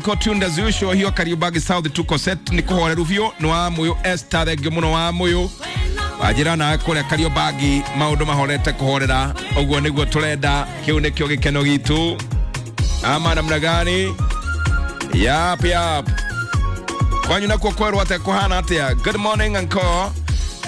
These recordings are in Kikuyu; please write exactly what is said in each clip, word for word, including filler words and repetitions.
Tuned as usual hiyo Kariobangi South tuko set ni kuhoreru biũ nĩ wa mũyũ Esther thengio mũno wa mũyũ wanjĩra nawe kũrĩa Kariobangi maũndũ mahorete kũhorera ũguo nĩguo tũrenda kĩu nĩkĩo gĩkeno gitũ ama namna gani yap yap kwanyu nakuo kwerwo atĩa kũhana atĩa. Good morning uncle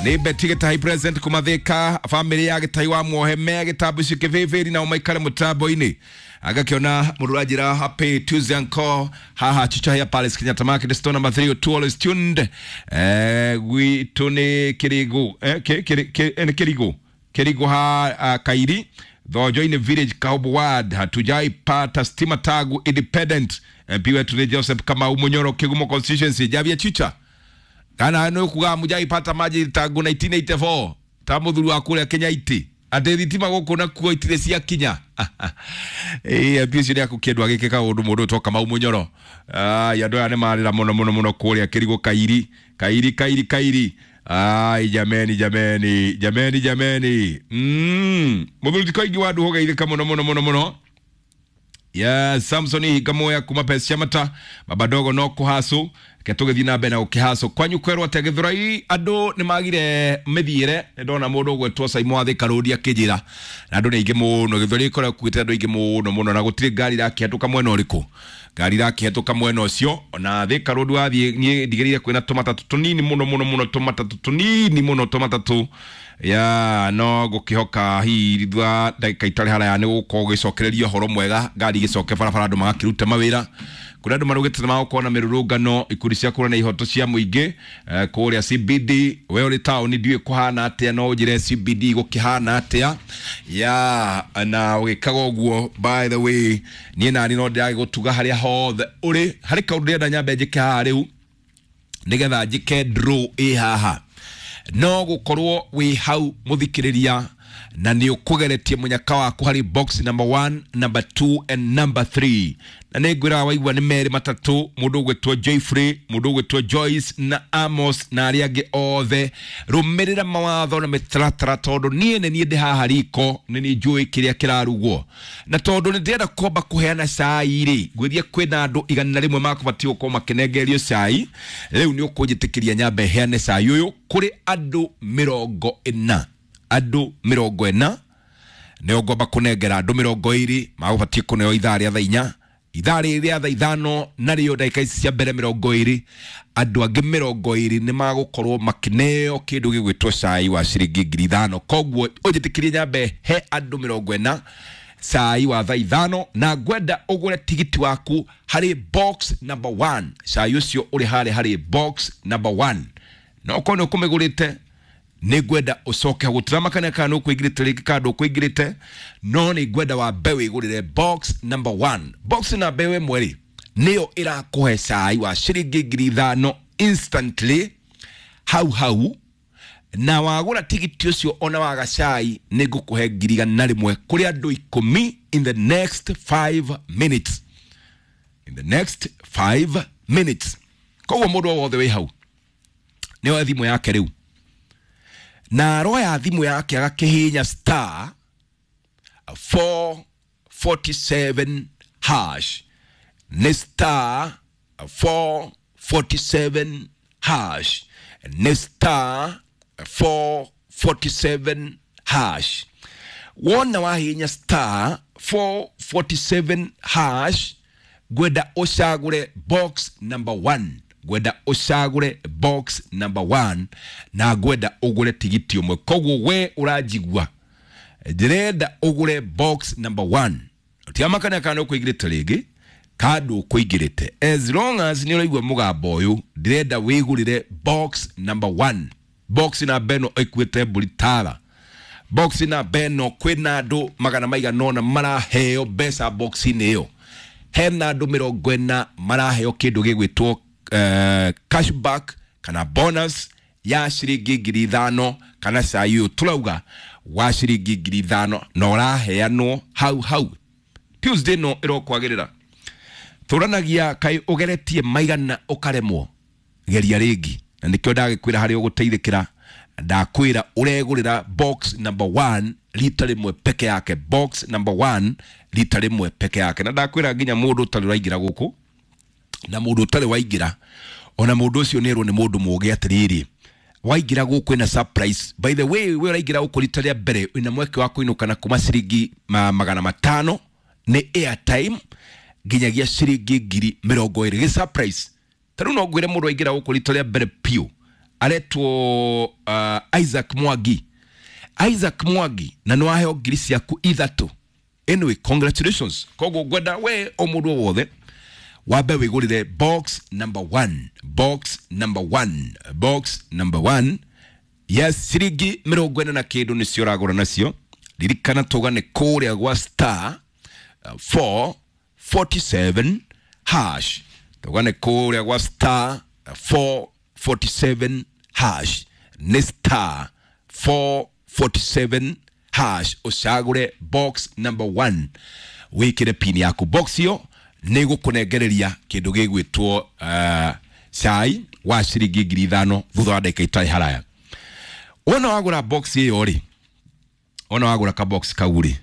nĩ Beti Gĩtahi present kumathika family ya Gĩtahi wa muohe me gĩtambuci kĩbĩbĩri na ũmaikare mũtambo-inĩ agakĩona mũndũ ũranjĩra happy Tuesday uncle haha Chichahia Palace Kenyatta Market store number three oh two always tuned eh gwitũ nĩ Kĩrĩgũ eh kĩ- kĩ- kĩ- eh, nĩ Kĩrigũ Kĩrigũ ha uh, Kairi Thojo-inĩ village Kahubu ward hatujaipata stima tagu independent M P wetu ni Joseph Kamau Munyoro Kigumo constituency Javia Chicha kana nä kuga mujaipata maji tangu nineteen eighty-four ta muthuri wa kuria Kenya iti atä thitima gå na kuo itirä cia kinya ä M P ũcio nĩ akũkĩendwo agĩke kaũndũ mũndũ ũtwo Kamau Mũnyoro. Ai andũ aya nĩ marĩra mũno mũno mũno kũrĩa Kĩrigũ Kairi Kairi Kairi Kairi. Ai jameni jameni jameni jameni mm. Mũthuri ti koingi wa andũ ũgeithĩka mũno mũno mũno mũno. Yes, Samson Higamoya kuma pesa cia mata baba dogo no kuhacu ke tũgĩthiĩ na mbere na gũkĩhacu kwanyu kwerwo atĩa Gĩthũrai andũ nĩ magire mĩthiĩre nĩ ndona mũndũ ũgwetwo Simon wa Thika Road akĩnjĩra na andũ nĩ aingĩ mũno Gĩthũrai ĩkoragwo ĩkuĩte andũ aingĩ mũno mũno na gũtirĩ ngari irakĩhetũka mwena ũrĩkũ ngari irakĩhetũka mwena ũcio ona Thika Road wathiĩ niĩ ndigĩrĩire kwĩna tũmatatũ tũnini mũno mũno mũno tũmatatũ tũnini mũno tũmatatũ ya no ngũkĩhoka hihi thutha ndagĩka itarĩ haraya nĩ gũkorwo gũgĩcokereria ũhoro mwega ngari igĩcoke barabara andũ magakĩruta mawĩra kũrĩa andũ marugĩte nĩ magũkorwo na mĩrũrũngano ikundi cia kũrũa na ihoto cia mũingĩ eh, kũrĩa C B D we ũrĩ taũni ndiũĩ kũhana atĩa no ũnjĩre C B D gũkĩhana atĩa ya na ũgĩkaga ũguo. By the way, niĩ nani no ndĩragĩgũtuga harĩa hothe ũrĩ harĩ kaũndũ ndĩrenda nyambe njĩke haha rĩu nĩgetha njĩke draw ĩ haha no gũkorwo wĩ hau mũthikĩrĩria na nĩ ũkũgeretie mũnyaka waku harĩ box number one, number two and number three na nĩ ngwĩraga waigua nĩ merĩ matatũ mũndũ ũgwĩtwo Joyfrey mũndũ ũgwĩtwo Joyce na Amos na arĩa angĩ othe rũmĩrĩra mawatho na mĩtaratara tondũ niĩ nĩ niĩ ndĩ haha riko nĩ niĩ njũĩ kĩrĩa kĩrarugwo na tondũ nĩ ndĩrenda kwamba kũheana cai rĩ ngwĩria kwĩna andũ igana rĩmwe makũbatiĩ gũkorwo makĩnengererio cai rĩu nĩ ũkũnjĩtĩkĩria nyambe heane cai ũyũ kũrĩ andũ mĩrongo ĩna andũ mĩrongo ĩna nĩo ngwamba kũnengera andũ mĩrongo ĩrĩ magũbatiĩ kũneo ithaa rĩa thaa inya ithaa rĩrĩ rĩa thaa ithano narĩo ndagĩka ici cia mbere mĩrongo ĩrĩ andũ angĩ mĩrongo ĩrĩ nĩ magũkorwo makĩneo kĩndũ gĩgwĩtwo cai wa ciringi ngiri ithano. Koguo ũnjĩtĩkĩrie nyambe he andũ mĩrongo ĩna cai wa thaa ithano na ngwenda ũgũre tigiti waku harĩ box number one. Cai ũcio ũrĩ harĩa harĩ box number one na okorwo nĩ ũkũmĩgũrĩte nĩ ngwenda ũcoke gũtiramakania kana nĩ ũkũingĩrĩte rĩngĩ kana ndũkũingĩrĩte no nĩ ngwenda wambe wĩgũrĩre box number one. Box number ĩmwe rĩ nĩyo ĩrakũhe cai wa ciringi ngiri ithano instantly hau hau na wagũra tigiti ũcio ona waga cai nĩ ngũkũhe ngiri igana rĩmwe kũrĩ andũ ikũmi in the next five minutes, in the next five minutes. Koguo mũndũ o wothe wĩ hau nĩ oe thimũ yake rĩu na aroya thimũ yake agakĩhihinya star four forty-seven hash nĩ star four forty-seven hash nĩ star four forty-seven hash. Wona wahihinya star four forty-seven hash ngwenda ũcagũre box number one, ngwenda ũcagũre box number one na ngwenda ũgũre tigiti ũmwe. Koguo we ũranjigua ndĩrenda ũgũre box number one tiamakania kana ũkũingĩrĩte rĩngĩ kana ũkũingĩrĩte as long as nĩ ũraigua mũgambo ũyũ ndĩrenda wĩgũrĩre box number one. Box namba ĩno ĩkuĩte mbũri tara box namba ĩno kwĩna andũ magana maigana ũna maraheo mbeca box-inĩ ĩyo hena andũ mĩrongo ĩna maraheo kĩndũ gĩgwĩtwo uh, cashback kana bonus ya ciringi ngiri ithano kana cai ũyũ tũrauga wa ciringi ngiri ithano na ũraheanwo hau hau. Tuesday no ĩrokwagĩrĩra tũranagia kaĩ ũgeretie maigana ũkaremwo geria rĩngĩ na nĩkĩo ndagĩkwĩra harĩa ũgũteithĩkĩra ndakwĩra ũregũrĩra box number one rita rĩmwe peke yake, box number one rita rĩmwe peke yake na ndakwĩra nginya mũndũ ũtarĩ ũraingĩra gũkũ. Na mũndũ ũtarĩ waingĩra ona mũndũ ũcio nĩ erwo nĩ mũndũ mũũgĩ atĩrĩrĩ, waingĩra gũkũ ĩna surprise. By the way, we ũraingĩra gũkũ rita rĩa mbere wĩna mweke wa kũinũka na kuma ciringi ma, magana matano nĩ airtime nginyagia ciringi ngiri mĩrongo ĩrĩ gĩ surprise. Ta rĩu no ngwĩre mũndũ waingĩra gũkũ rita rĩa mbere piũ aretwo uh, Isaac Mwangi. Isaac Mwangi, na nĩ waheo ngiri ciaku ithatũ. Anyway, congratulations. Koguo ngwenda we o mũndũ o wothe wambe wĩgũrĩre box number one, box number one, box number one. Yes, ciringi mĩrongo ĩna na kĩndũ nĩcio ũragũra nacio. Ririkana tũgane kũrĩa gwa star uh, four forty-seven hash. Tũgane kũrĩa gwa star uh, four forty-seven hash. Nĩ star four forty-seven hash ũcagũre box number one, wĩkĩre pin yaku. Box ĩyo nĩ gũkũnengereria kĩndũ gĩgwĩtwo uh, cai wa ciringi ngiri ithano thutha wa ndagĩka itarĩ haraya. Wona wagũra box ĩyo rĩ, wona wagũra ka box kau rĩ,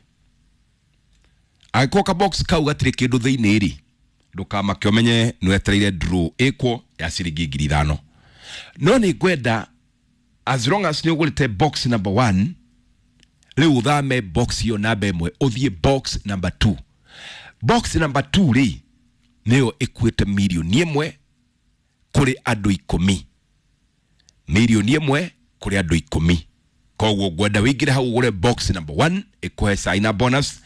angĩkorwo ka box kau gatirĩ kĩndũ thĩinĩ rĩ, ndũkamake ũmenye nĩ wetereire draw ĩkwo ya ciringi ngiri ithano. No nĩ ngwenda as long as nĩ ũgũrĩte box number one, rĩu ũthame box ĩyo namba ĩmwe ũthiĩ box number two. Box number two rĩ nĩyo ĩkuĩte mirioni ĩmwe kũrĩ andũ ikũmi, mirioni ĩmwe kũrĩ andũ ikũmi. Koguo ngwenda wĩingĩre hau ũgũre box number one ĩkũhe cai na bonus,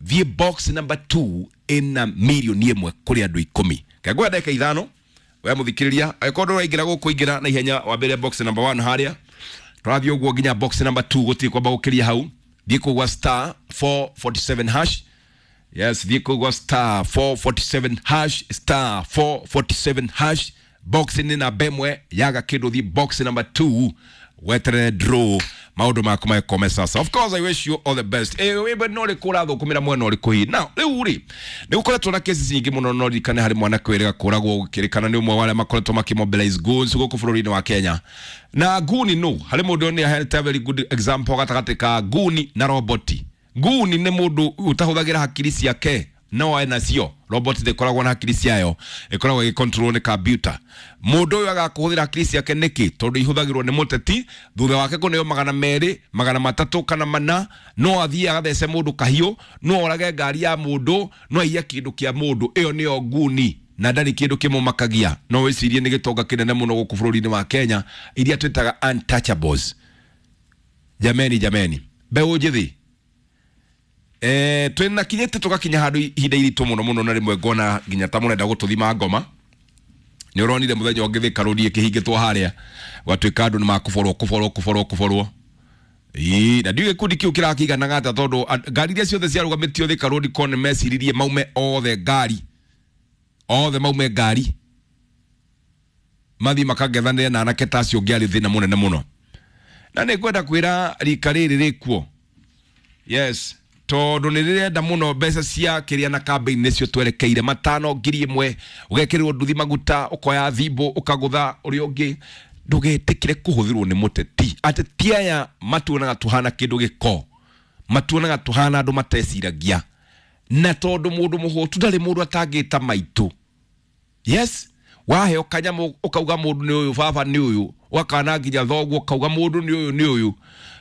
thiĩ box number two ĩna mirioni ĩmwe kũrĩ andũ ikũmi. Kengwenda ndagĩka ithano we mũthikĩrĩria, angĩkorwo ndũraingĩra gũkũ ingĩra na ihenya wambĩrĩre box number one harĩa tũrathiĩ ũguo nginya box number two, gũtirĩ kwamba gũkĩria hau. Thiĩ kũu gwa star four forty-seven hash. Yes, thiĩ kũu gwa star four forty-seven hash, star four forty-seven hash. Box nĩ namba ĩmwe yaga kĩndũ, thiĩ box number two weterere draw maũndũ maku magĩkome sasa. Of course I wish you all the best. Eh, wĩmbe no rĩkũ ũrathũkũmĩra mwena ũrĩkũ hihi? Now rĩu rĩ nĩ gũkoretwo na cases nyingĩ mũno, no ririkane harĩ mwanake wĩrĩga kũragwo gũkĩrĩkana nĩ ũmwe wa arĩa makoretwo makĩmobilize goons gũkũ bũrũri-inĩ wa Kenya. Na guni no harĩ mũndũ nĩ aheanĩte a very good example gatagatĩ ka guni na roboti. Guni nĩ mũndũ ũtahũthagĩra hakiri ciake no ena cio. Robot ndĩkoragwo na hakiri ciayo, ĩkoragwo ĩgĩcontrol nĩ computer. Mũndũ ũyũ agakũhũthĩra hakiri ciake nĩkĩ? Tondũ ihũthagĩrwo nĩ mũteti thutha wake kũneo magana merĩ magana matatũ kana mana, no athiĩ agathece mũndũ kahiũ, no orage ngari ya mũndũ, no aiye kĩndũ kĩa mũndũ. Ĩyo nĩyo nguni na ndarĩ kĩndũ kĩmũmakagia. No wĩcirie nĩ gĩtonga kĩnene mũno gũkũ bũrũri-inĩ wa Kenya iria twĩtaga untouchables. Jameni, jameni, mbeũ njĩthĩ, eh twina kinyĩte tũgakinya handũ ihinda iritũ mũno mũno, na rĩmwe ngona nginya ta mũrenda gũtũthima ngoma. Nĩ ũronire mũthenya ũngĩ Thika Road ĩkĩhingĩtwo harĩa gwatuĩka andũ nĩ makũborwo kũborwo kũborwo kũborwo. Ĩĩ, na ndiũĩ gĩkundi kĩu kĩrakĩiganaga atĩa, tondũ ngari iria ciothe ciarũgamĩtio Thika Road ko nĩ meciririe maume othe ngari, othe maume ngari mathiĩ makangethanĩre na anake ta acio ũngĩarĩ thĩna mũnene mũno. Na nĩ ngwenda kwĩra rika rĩrĩ rĩkuo, yes, tondũ nĩ rĩrenda mũno mbeca cia kĩrĩa na campaign nĩcio twerekeire matano ngiri ĩmwe ũgekĩrĩrwo nduthi maguta ũkoya thimũ ũkagũtha ũrĩa ũngĩ. Ndũgetĩkĩre kũhũthĩrwo nĩ mũteti. Ateti aya matuonaga tũhana kĩndũ gĩko, matuonaga tũhana andũ mateciragia, na tondũ mũndũ mũhũtu ndarĩ mũndũ atangĩta maitũ. Yes, waheo kanyamũ ũkauga mũndũ nĩ ũyũ, baba nĩ ũyũ, ũgakana nginya thoguo ũkauga mũndũ nĩ ũyũ nĩ ũyũ.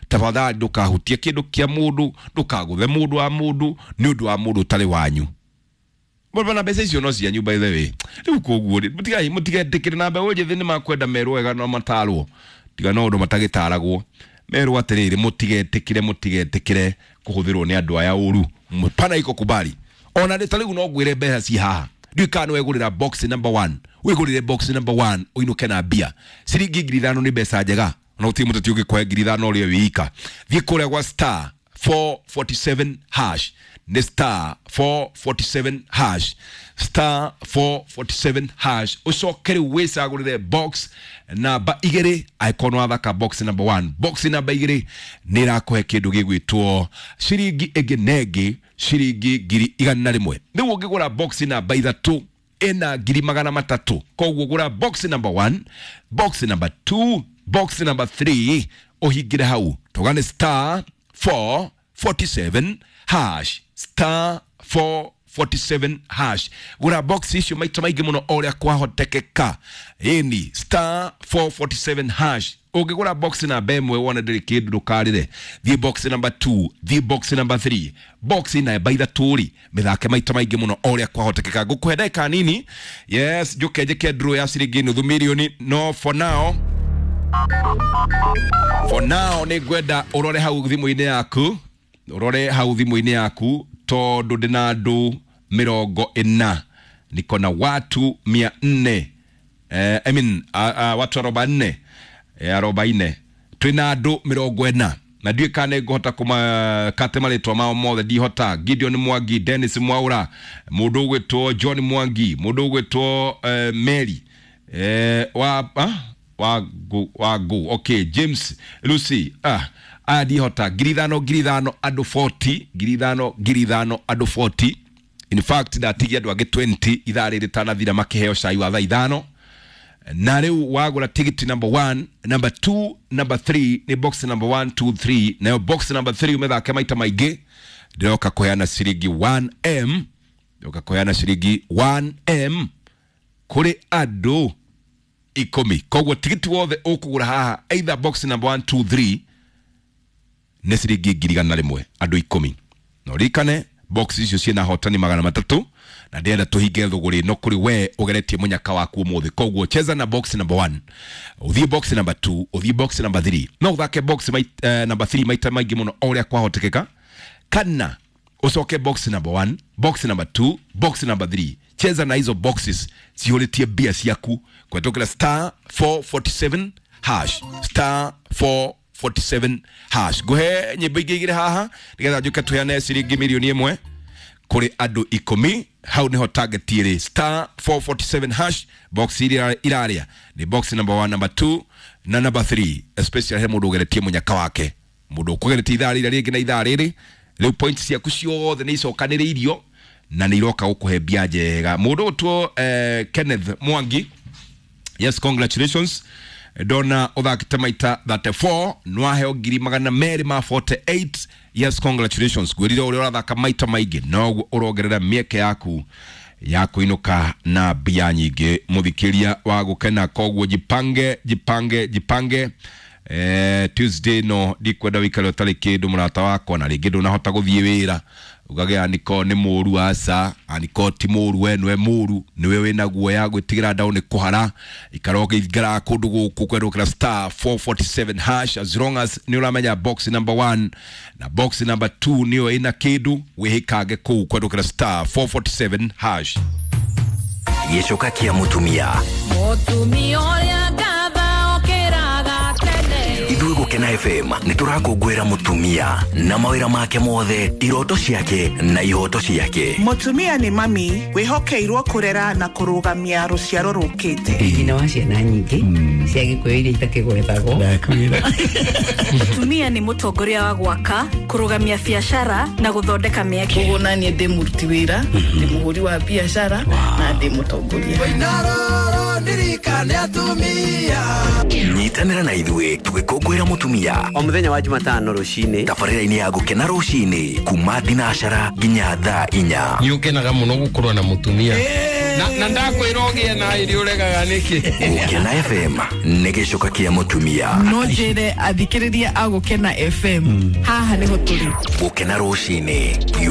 Tafadhali ndũkahutie kĩndũ kĩa mũndũ, ndũkagũthe mũndũ wa mũndũ nĩ ũndũ wa mũndũ ũtarĩ wanyu. Mbona mbeca icio no cianyu by the way. Rĩu koguo rĩ, mũtigai mũtigetĩkĩre na mbeũ njĩthĩ nĩ makwenda merwo wega no matarwo, tiga no ũndũ matagĩtaragwo. Merwo atĩrĩrĩ, mũtigetĩkĩre mũtigetĩkĩre kũhũthĩrwo nĩ andũ aya ũru. Pana iko kubali. Ona rĩ ta rĩu no ngwĩre mbeca ci haha. Ndiũĩ kana nĩ wegũrĩra box number one. Wĩgũrĩre box number one ũinũke na mbia. Ciringi ngiri ithano nĩ mbeca njega. Ona gũtirĩ mũteti ũngĩkũhe ngiri ithano ũrĩe wĩ ika. Thiĩ kũrĩa gwa star four forty-seven hash. Nĩ star four forty-seven hash, star four forty-seven hash. Ũcoke rĩu wĩcagũrĩre box namba igĩrĩ. Angĩkorwo nĩ wathaka box number one, box namba igĩrĩ nĩ ĩrakũhe kĩndũ gĩgwĩtwo ciringi ĩngĩ na ĩngĩ ciringi ngiri igana rĩmwe. Rĩu ũngĩgũra box namba ithatũ ĩna ngiri magana matatũ. Koguo gũra box number one, box number two, box number three, ũhingĩre hau tũgane star four forty-seven hash, star four forty-seven hash. Gura box icio maita maingĩ mũno o ũrĩa kwahotekeka. Ĩni star four forty-seven hash. Ũngĩgũra box namba ĩmwe wone ndĩrĩ kĩndũ ndũkarĩre. Thiĩ box number two, thiĩ box number three. Box namba ithatũ rĩ, mĩthake maita maingĩ mũno o ũrĩa kwahotekeka. Ngũkũhe ndagĩka nini. Yes, njũke njĩke draw ya ciringi nuthu mirioni. No for now, for now nĩ ngwenda ũrore hau thimũ-inĩ yaku, ũrore hau thimũ-inĩ yaku tondũ ndĩna andũ mĩrongo ĩna. Niko na watu mia nne. Eh, I mean, uh, uh, watu arobaini. Eh, arobaini. Twĩna andũ mĩrongo ĩna. Na ndiũĩ kana nĩ ngũhota kũmakate marĩtwa mao mothe, ndihota. Gideon Mwangi, Dennis Mwaura, mũndũ ũgwĩtwo John Mwangi, mũndũ ũgwĩtwo eh, Mary eh, wa ah, wa gu, wa gu. Okay, James Lucy, ah aya ndihota. Ngiri ithano ngiri ithano andũ forty, ngiri ithano ngiri ithano andũ forty. In fact ndatigia andũ angĩ twenty ithaa rĩrĩ rĩtanathira makĩheo cai wa thaa ithano. Na rĩu wagũra tigiti number one, number two, number three, nĩ box number one, two, three. Nayo box number three ũmĩthake maita maingĩ. Ndĩroka kũheana ciringi one M, ndĩroka kũheana ciringi one M kũrĩ andũ ikũmi. Koguo tigiti wothe ũkũgũra haha either box number one, two, three nĩ ciringi ngiri igana rĩmwe andũ ikũmi. Na ũririkane box icio ciĩna hotani magana matatũ na ndĩrenda tũhinge thũgũrĩ ĩno kũrĩ we ũgeretie mũnyaka waku ũmũthĩ. Koguo cheza na box number one, ũthiĩ box number two, ũthiĩ box number three. No ũthake box mait, uh, number three maita maingĩ mũno o ũrĩa kwahotekeka, kana ũcoke box number one, box number two, box number three. Cheza na hizo boxes cihũrĩtie mbia ciaku kũhetũkĩra star four forty-seven hash, star four forty-seven hash. Ngũhe nyĩmbo ingĩ igĩrĩ haha nĩgetha njũke tũheane ciringi mirioni ĩmwe kũrĩ andũ ikũmi. Hau nĩho target ĩrĩ, star four forty-seven hash. Box iria irarĩa nĩ box number one, number two na number three. Especially he mũndũ ũgeretie mũnyaka wake, mũndũ ũkũgeretie ithaa rĩrĩa rĩngĩ na ithaa rĩrĩ rĩu points ciaku ciothe nĩ icokanĩrĩirio na nĩ iroka gũkũhe mbia njega. Mũndũ ũgũtwo eh, Kenneth Mwangi, yes, congratulations. Ndona ũthakĩte maita thirty-four, nĩwaheo ngiri magana merĩ ma forty-eight. Yes, congratulations. Ngwĩrire ũrĩa ũrathaka maita maingĩ noguo ũrongerera mĩeke yaku ya kũinũka na mbia nyingĩ. Mũthikĩria wa gũkena, koguo jipange, jipange, jipange. Eh, Tuesday no ndikwenda wĩikare ũtarĩ kĩndũ mũrata wakwa, na rĩngĩ ndũnahota gũthiĩ wĩra ugage aniko nĩ mũru, aca aniko ti mũru, we nĩwe mũru, nĩwe wĩna guoya gwĩtigĩra ndaũ nĩ kũhara. Ikara ũkĩingĩra kũndũ gũkũ kwerũkĩra star four forty-seven hash. As long as nĩ ũramenya box number one na box number two nĩyo ĩna kĩndũ, wĩhĩkange kũu kwerũkĩra star four forty-seven hash. Gĩcoka kĩa mũtumia. Mũtumia ũrĩa ngatha okĩraga tene. Ithuĩ Gũkena F M nĩ tũrakũngũĩra mũtumia na mawĩra make mothe, iroto ciake na ihoto ciake. Mũtumia nĩ mami wĩhokeirwo kũrera na kũrũgamia rũciaro rũkĩte. Nyina wa ciana nyingĩ cia Gĩkũyũ iria itakĩgwetagwo. Ndakwĩra. Mũtumia nĩ mũtongoria wa gwaka, kũrũgamia biacara na gũthondeka mĩeke. Koguo naniĩ ndĩ mũruti wĩra, ndĩ mũhũri wa biacara na ndĩ mũtongoria. Nyitanĩra na ithuĩ tũgĩkũngũĩra mũtumia o mũthenya wa Jumatano rũcinĩ, tabarĩra-inĩ ya Gũkena rũcinĩ kuma thinacara nginya thaa inya. Nĩ ũkenaga mũno gũkorwo na mũtumia na, na ndakwĩra ũgĩe na irio ũregaga nĩkĩ. Gũkena F M nĩ gĩcoka kĩa mũtumia. No njĩre athikĩrĩria a Gũkena F M haha nĩho tũrĩ. Gũkena rũcinĩ.